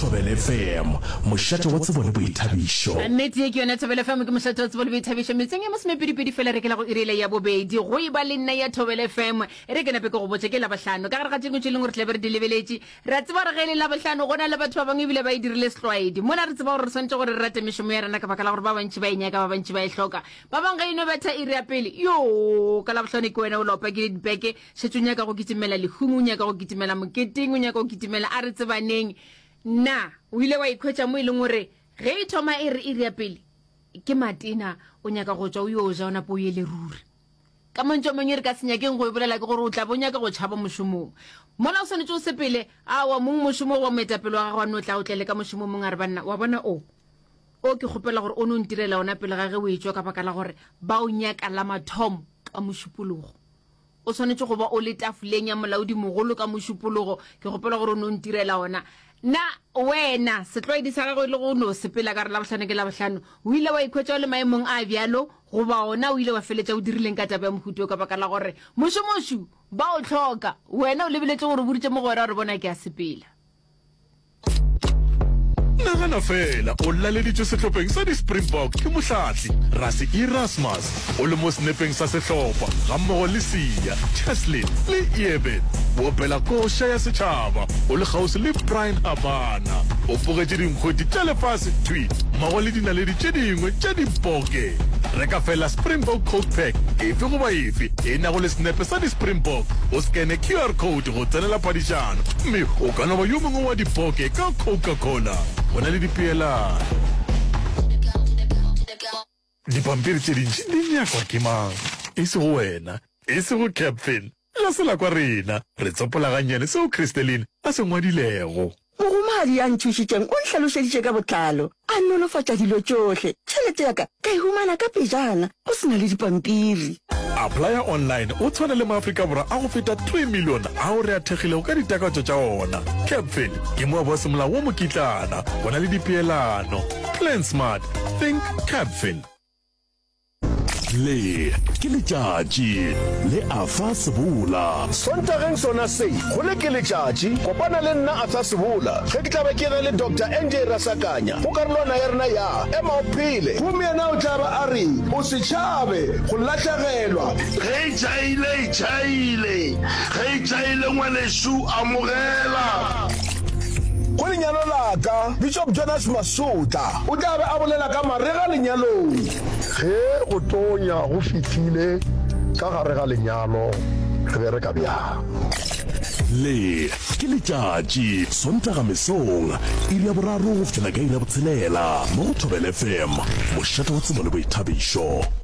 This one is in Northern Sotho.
Thobela FM, mošate wa tsebo le boithabišo. Nnete ye ke yona Thobela FM, ke mošate wa tsebo le boithabišo. Metseng ya masomepedipedi fela re ke la go iri yela ya bobedi. Go e ba le nna ya Thobela FM. E re ke nape ke go botše ke Labohlano. Ka gare ga tše dingwe tše e leng gore tla be re di lebeletše, re a tseba gore ge e le Labohlano go na le batho ba bangwe ebile ba e dirile setlwaedi. Mola re tseba gore re swanetše gore re rate mešomo ya rena ka baka la gore ba bantši ba e nyaka, ba bantši ba e hloka. Ba bangwe ge e no betha iri ya pele, yoo, ka Labohlano ke wena o la o pakile dipeke, Šetše o nyaka go kitimela lehung, o nyaka go kitimela moketeng, o nyaka go kitimela a re tsebaneng. Na o ile wa ikhwetša mo e leng gore ge e thoma e re iri ya pele ke matena, o nyaka go tšwa o yo ja o nape o ye le ruri? Ka mantšu a mangwe re ka se nyakeng go e bolela ke gore o tla be o nyaka go tšhaba mošomong. Mola o swanetše o sepele, aowa mong mošomo goba moetapele wa gago a no tla o tlele ka mošomo o mongwe a re banna, wa bona o, o ke kgopela gore o no ntirela ona pele ga ge o etšwa ka baka la gore ba o nyaka la mathomo ka Mošupologo. O swanetše go ba o le tafoleng ya molaodimogolo ka Mošupologo. Ke kgopela gore o no ntirela ona. Na wena, setlwaedi sa gago e le go no sepela ka re Labohlano ke Labohlano, o ile wa ikhwetša o le maemong a bjalo? Goba ona o ile wa feletša o dirileng ka taba ya mohuta wo ka baka la gore mošomošu ba o hloka? Wena o lebeletše gore o boditše mogwera gore bona ke a sepela. Nagana feela o laleditšwe sehlopheng sa di-Springbok ke mohlahli Rassie Erasmus, o le mo senepeng sa sehlopha gammogo le Siya, Cheslin le Eben. O opela koša ya setšhaba o le kgauswi le Bryan Habana. O pogetše dinkgwete tša lefase thwi mmogo le dinaledi tše dingwe tša diboke. Reka feela Springbok Coke Pack efe goba efe e nago le senepe sa di-Springbok, o skene QR code go tsenela phadišano mme o ka no ba yo mongwe wa dipoke ka Coca-Cola. Go na le dipeelano. Dipampiri tše dintši di nyakwa ke mang? E sego wena, e sego Captain. Ga se la kwa rena. Re tsopola gannyane seo Christeline a se ngwadilego. Mogomadi ya nthušitšeng o nhlalošeditše ka botlalo, a nolofatša dilo tšohle. Tšhelete ya ka ka e humana ka pejana, go se na le dipampiri. Applya online o tshwane le maAfrika Borwa a go feta 3 milione ao re a thekgilego ka ditakatšo tša ona. Capfin ke moabi wa semolao wa mokitlana. Go na le dipeelano. Plan smart. Think Capfin. Le ke letšatši le Arthur Sebola. Sontageng sona se, go le ke letšatši, kopana le nna Arthur Sebola ge ke tla be ke na le Doctor NJ Rasakanya go karolwana ya rena ya Ema o Phele. Gomme yena o tla ba a re, O se tšhabe go lahlegelwa. Ge e tšhaile, e tšhaile. Ge e tšhaile, ngwanešu, amogela. Go lenyalo la ka, Bishop Jonas Masotla o tla be a bolela ka marega lenyalong. Ge go tonya go fihlile ka gare ga lenyalo, re bereka bjang? Le ke letšatši, Sontaga mesong, iri ya boraro go fihlela ka iri ya botshelela, mo go Thobela FM, mošate wa tsebo le boithabišo.